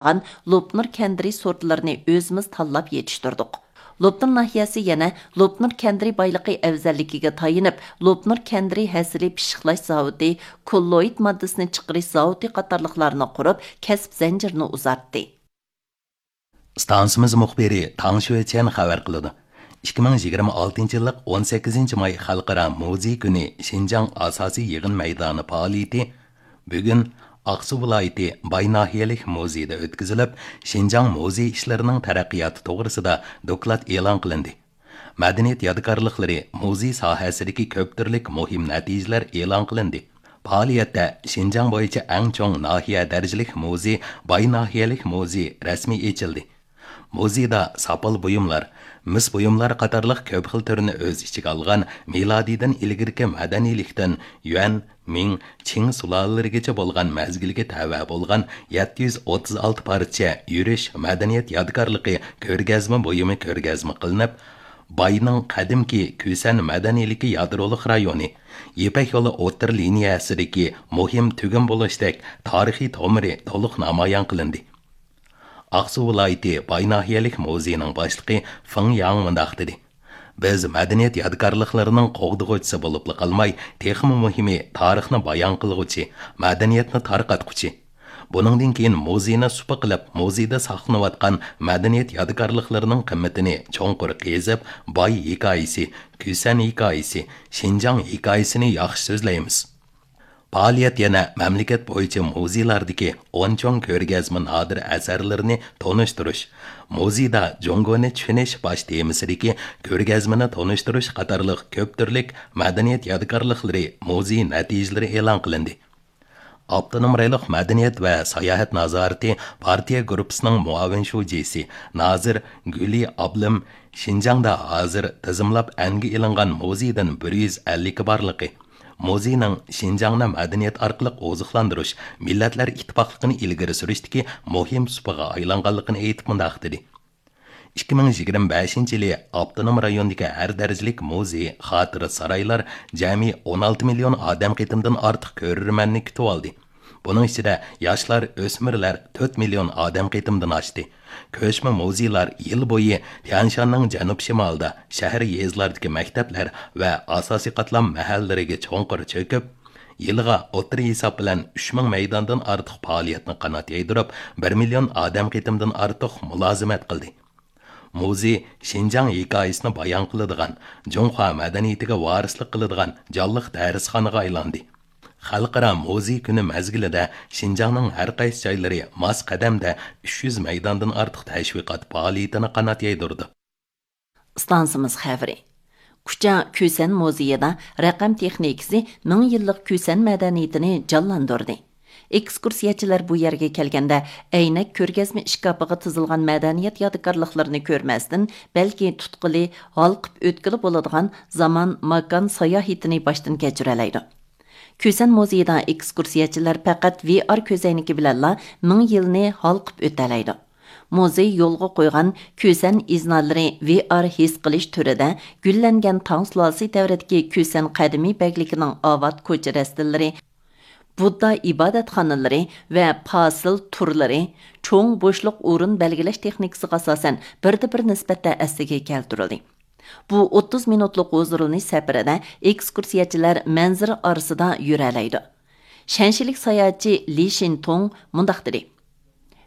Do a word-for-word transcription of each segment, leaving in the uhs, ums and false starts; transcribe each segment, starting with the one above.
قىلغان لوپنۇر كەندىرى سورتلىرىنى ئۆزىمىز تاللاپ يېتىشتۈردۇق. لوپنۇر ناھىيەسى يەنە لوپنۇر كەندىرى بايلىقى ئەۋزەللىكىگە تايىنىپ، لوپنۇر كەندىرى ھەسىلى پىششىقلاش زاۋۇتى، كوللوئىد ماددىسىنى چىقىرىش زاۋۇتى قاتارلىقلارنى قۇرۇپ، كەسىپ زەنجىرىنى ئۇزارتتى. ئىستانسىمىز مۇخبىرى تاڭ شۆچيەن خەۋەر قىلىدۇ. ئىككى مىڭ يىگىرمە ئالتىنچى يىللىق ئون سەككىزىنچى ماي خەلقئارا مۇزېي كۈنى شىنجاڭ ئاساسىي يىغىن مەيدانى پائالىيىتى بۈگۈن ئاقسۇ ۋىلايىتى باي ناھىيەلىك مۇزېيدا ئۆتكۈزۈلۈپ، شىنجاڭ مۇزېي ئىشلىرىنىڭ تەرەققىياتى توغرىسىدا دوكلات ئېلان قىلىندى. مەدەنىيەت يادىكارلىقلىرى، مۇزېي ساھەسىدىكى كۆپ تۈرلۈك مۇھىم نەتىجىلەر ئېلان قىلىندى. پائالىيەتتە شىنجاڭ بويىچە ئەڭ چوڭ ناھىيە دەرىجىلىك مۇزېي، باي ناھىيەلىك مۇزېي رەسمىي ئېچىلدى. مۇزېيدا ساپال بۇيۇملار، مىس بۇيۇملار قاتارلىق كۆپ خىل تۈرنى ئۆز ئىچىگە ئالغان مىلادىدىن ئىلگىرىكى مەدەنىيلىكتىن يۈەن، مىڭ، چىڭ سۇلالىلىرىگىچە بولغان مەزگىلگە تەۋە بولغان يەتتە يۈز ئوتتۇز ئالتە پارچە يۈرۈش مەدەنىيەت يادىكارلىقى كۆرگەزمە بۇيۇمى كۆرگەزمە قىلىنىپ، باينىڭ قەدىمكى كۈسەن مەدەنىيلىكى يادرولۇق رايونى، يىپەك يولى ئوتتۇرا لىنىيەسىدىكى مۇھىم تۈگۈن بولۇشتەك تارىخىي تومۇرى تولۇق نامايان قىلىندى. ئاقسۇ ۋىلايىتى باي ناھىيەلىك مۇزېيىنىڭ باشلىقى فېڭ ياڭ مۇنداق دېدى: بىز مەدەنىيەت يادىكارلىقلىرىنىڭ قوغدىغۇچىسى بولۇپلا قالماي، تېخىمۇ مۇھىمى، تارىخنى بايان قىلغۇچى، مەدەنىيەتنى تارقاتقۇچى. بۇنىڭدىن كېيىن مۇزېينى سۇپا قىلىپ، مۇزېيدا ساقلىنىۋاتقان مەدەنىيەت يادىكارلىقلىرىنىڭ قىممىتىنى چوڭقۇر قېزىپ، باي ھېكايىسى، كۈسەن ھېكايىسى، شىنجاڭ ھېكايىسىنى ياخشى سۆزلەيمىز. پائالىيەت يەنە مەملىكەت بويىچە مۇزېيلاردىكى ئون چوڭ كۆرگەزمە نادىر ئەسەرلىرىنى تونۇشتۇرۇش، مۇزېيدا جۇڭگونى چۈشىنىش باش تېمىسىدىكى كۆرگەزمىنى تونۇشتۇرۇش قاتارلىق كۆپ تۈرلۈك مەدەنىيەت يادىكارلىقلىرى، مۇزېي نەتىجىلىرى ئېلان قىلىندى. ئاپتونوم رايونلۇق مەدەنىيەت ۋە ساياھەت نازارىتى پارتىيە گۇرۇپپىسىنىڭ مۇئاۋىن شۇجىسى، نازىر گۈلى ئابلىم شىنجاڭدا ھازىر تىزىملاپ ئەنگە ئېلىنغان مۇزېيدىن بىر يۈز ئەللىكى بارلىقى، مۇزېينىڭ شىنجاڭنى مەدەنىيەت ئارقىلىق ئوزۇقلاندۇرۇش، مىللەتلەر ئىتتىپاقلىقىنى ئىلگىرى سۈرۈشتىكى مۇھىم سۇپىغا ئايلانغانلىقىنى ئېيتىپ مۇنداق دېدى: ئىككى مىڭ يىگىرمە بەشىنچى يىلى ئاپتونوم رايوندىكى ھەر دەرىجىلىك مۇزېي، خاتىرە سارايلار جەمئىي ئون ئالتە مىليون ئادەم قېتىمدىن ئارتۇق كۆرۈرمەننى كۈتۈۋالدى. بۇنىڭ ئىچىدە ياشلار، ئۆسمۈرلەر تۆت مىليون ئادەم قېتىمدىن ئاشتى. كۆچمە مۇزېيلار يىل بويى تيەنشاننىڭ جەنۇب شىمالىدا، شەھەر، يېزىلاردىكى مەكتەپلەر ۋە ئاساسىي قاتلام مەھەللىلىرىگە چوڭقۇر چۆكۈپ، يىلىغا ئوتتۇرا ھېساب بىلەن ئۈچ مىڭ مەيداندىن ئارتۇق پائالىيەتنى قانات يايدۇرۇپ، بىر مىليون ئادەم قېتىمدىن ئارتۇق مۇلازىمەت قىلدى. مۇزېي شىنجاڭ ھېكايىسىنى بايان قىلىدىغان، جۇڭخۇا مەدەنىيىتىگە ۋارىسلىق قىلىدىغان جانلىق دەرسخانىغا ئايلاندى. خەلقئارا مۇزېي كۈنى مەزگىلىدە شىنجاڭنىڭ ھەر قايسى جايلىرى ماس قەدەمدە ئۈچ يۈز مەيداندىن ئارتۇق تەشۋىقات پائالىيىتىنى قانات يايدۇرىدۇ. ئىستانسىمىز خەۋىرى. كۇچا كۈسەن مۇزېيىدا رەقەم تېخنىكىسى مىڭ يىللىق كۈسەن مەدەنىيىتىنى جانلاندۇردى. ئېكسكۇرسىيەچىلەر بۇ يەرگە كەلگەندە، ئەينەك كۆرگەزمە ئىشكاپىغا تىزىلغان مەدەنىيەت يادىكارلىقلىرىنى كۆرمەستىن، بەلكى تۇتقىلى، ھالقىپ ئۆتكىلى بولىدىغان زامان، ماكان ساياھىتىنى باشتىن كەچۈرەلەيدۇ. كۈسەن مۇزېيىدا ئېكسكۇرسىيەچىلەر پەقەت ۋي ئار كۆزەينىكى بىلەنلا مىڭ يىلنى ھالقىپ ئۆتەلەيدۇ. مۇزېي يولغا قويغان كۈسەن ئىزنالىرى ۋي ئار ھېس قىلىش تۈرىدە گۈللەنگەن تاڭ سۇلالىسى دەۋرىدىكى كۈسەن قەدىمىي بەگلىكىنىڭ ئاۋات كوچا رەستىلىرى، بۇددا ئىبادەتخانىلىرى ۋە پاسىل تورلىرى، چوڭ بوشلۇق ئورۇن بەلگىلەش تېخنىكىسىغا ئاساسەن بىردە بىر نىسبەتتە ئەسلىگە كەلتۈرۈلدى. بۇ ئوتتۇز مىنۇتلۇق ھۇزۇرلىنىش سەپىرىدە ئېكسكۇرسىيەچىلەر مەنزىرە ئارىسىدا يۈرەلەيدۇ. شەنشىلىك ساياھەتچى لى شىنتۇڭ مۇنداق دېدى: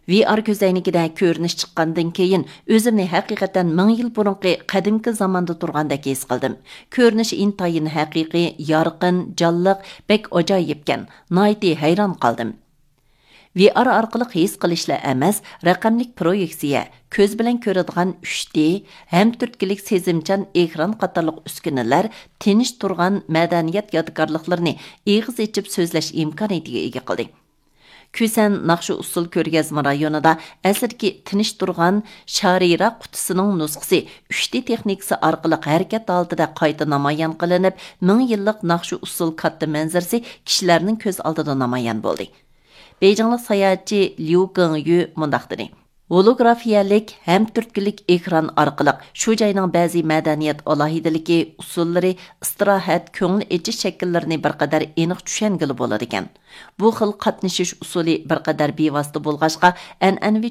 ۋي ئار كۆزەينىكىدە كۆرۈنۈش چىققاندىن كېيىن، ئۆزۈمنى ھەقىقەتەن مىڭ يىل بۇرۇنقى قەدىمكى زاماندا تۇرغاندەك ھېس قىلدىم. كۆرۈنۈش ئىنتايىن ھەقىقىي، يارقىن، جانلىق، بەك ئاجايىپكەن، ناھايىتى ھەيران قالدىم. ۋي ئار ئارقىلىق ھېس قىلىشلا ئەمەس، رەقەملىك پرويېكسىيە، كۆز بىلەن كۆرىدىغان ئۈچ دى، ھەم تۈرتكىلىك سېزىمچان ئېكران قاتارلىق ئۈسكۈنىلەر تىنچ تۇرغان مەدەنىيەت يادىكارلىقلىرىنى ئېغىز ئېچىپ سۆزلەش ئىمكانىيىتىگە ئىگە قىلدى. كۈسەن ناخشا ئۇسسۇل كۆرگەزمە رايونىدا ئەسلىدىكى تىنچ تۇرغان شارىرا قۇتىسىنىڭ نۇسخىسى ئۈچ دى تېخنىكىسى ئارقىلىق ھەرىكەت ھالىتىدە قايتا نامايان قىلىنىپ، مىڭ يىللىق ناخشا ئۇسسۇل كاتتا مەنزىرىسى كىشىلەرنىڭ كۆز ئالدىدا نامايان بولدى. بېيجىڭلىق ساياھەتچى ليۇ گېڭيۈ مۇنداق دېدى: ھولوگرافىيەلىك ھەم تۈرتكىلىك ئېكران ئارقىلىق شۇ جاينىڭ بەزى مەدەنىيەت ئالاھىدىلىكى، ئۇسۇللىرى، ئىستىراھەت، كۆڭۈل ئېچىش شەكىللىرىنى بىر قەدەر ئېنىق چۈشەنگىلى بولىدىكەن. بۇ خىل قاتنىشىش ئۇسۇلى بىر قەدەر بىۋاسىتە بولغاچقا، ئەنئەنىۋى